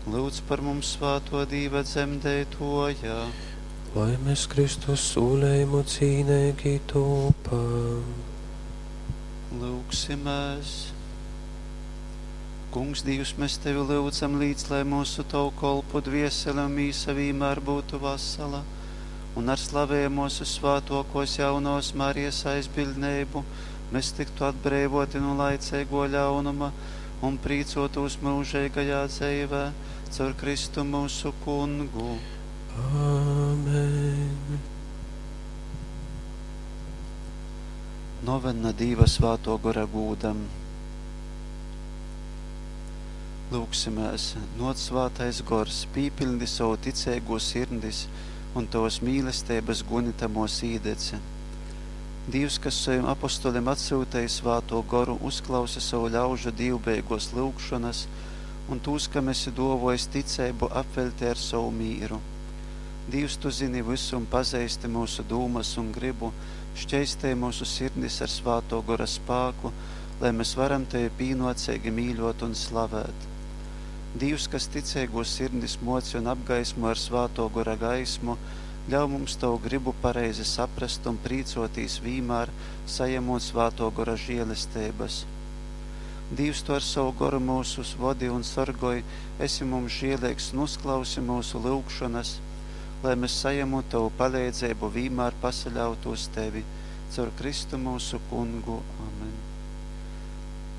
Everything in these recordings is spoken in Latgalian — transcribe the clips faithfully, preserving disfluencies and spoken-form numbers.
Lūdz par mums svātō Dīva dzemdeitōja. Lai mēs Kristus sūlējumu cīneigi tūpam. Lūgsimēs. Kungs, Dīvs, mēs Tevi lyudzam līdz, lai mūsu Tavu kolpu dviesele un mīsa vīmēr būtu vasala, un ar slavējamos svātokos jaunās Marijas aizbildneibu mēs tiktu atbreivoti no laicīgo ļaunuma un prīcotos mūžīgajā dzīvē caur Kristu mūsu kungu. Āmen. Novena Dīva svāto gora gūdam. Lūgsimēs, nōc svātais gors, pīpildi savu ticīgo sirdis un tavas mīlestības guni tamos īdeci. Dīvs, kas saviem apostoliem atsūtīja svāto goru, uzklausa savu ļaužu dīvbeigos lūgšanas un tūs, kam esi dovojis ticību, apveļti ar savu mīru. Dīvs, tu zini visu un pazīsti mūsu dūmas un gribu, šķeistē mūsu sirdis ar svāto gora spāku, lai mēs varam tevi pīnocīgi mīļot un slavēt. Dīvs, kas ticīgo sirdis moci un apgaismo ar svāto gora gaismu, ļauj mums tavu gribu pareizi saprast un prīcotīs vīmēr, sajemot svāto gora žēlestības. Dīvs, tu ar savu goru mūsus vodi un sargoj, esi mums žēlīgs un uzklausi mūsu lūgšanas, lai mēs sajemot tavu palīdzību vīmēr pasaļautos tevi, caur Kristu mūsu kungu. Amen.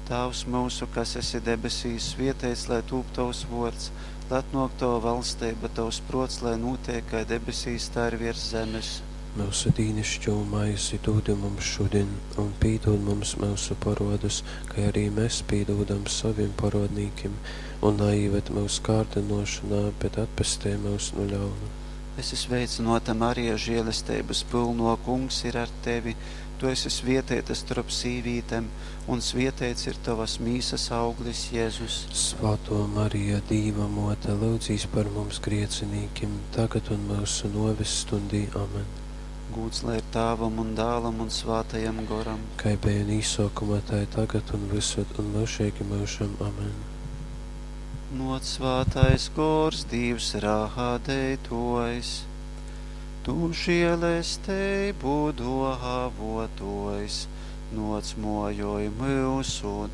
Tēvs mūsu, kas esi debesīs, svietēts, lai tūp tavs vārds, lai atnāk tava valstība, tavs prots, lai notiek kā debesīs, tā ir virs zemes. Mūsu dīnišķo maizi dod mums šodien, un pīdod mums mūsu parodus, kā arī mēs pīdodam saviem parodnīkiem, un naieved mūsu kārdinošanā, bet atpestē mūs no ļauna. Es esmu sveicināta Marija, žēlestības pilno kungs ir ar tevi. Tu esi svietēta starp sīvītēm, un svietēts ir tavas mīsas auglis, Jēzus. Svētā Marija, Dīva mote, lūdzīs par mums griecinīkiem, tagad un mūsu novis stundī. Amen. Gūds lai ir Tēvam un Dēlam un Svētajam Goram. Kā bija īsākumā, tā ir tagad un visur un mūžīgi mūžam. Amen. Nāc svētais gors, Dievs rādītājs, tu žēlestību dāvotājs, nāc mojoj mūsu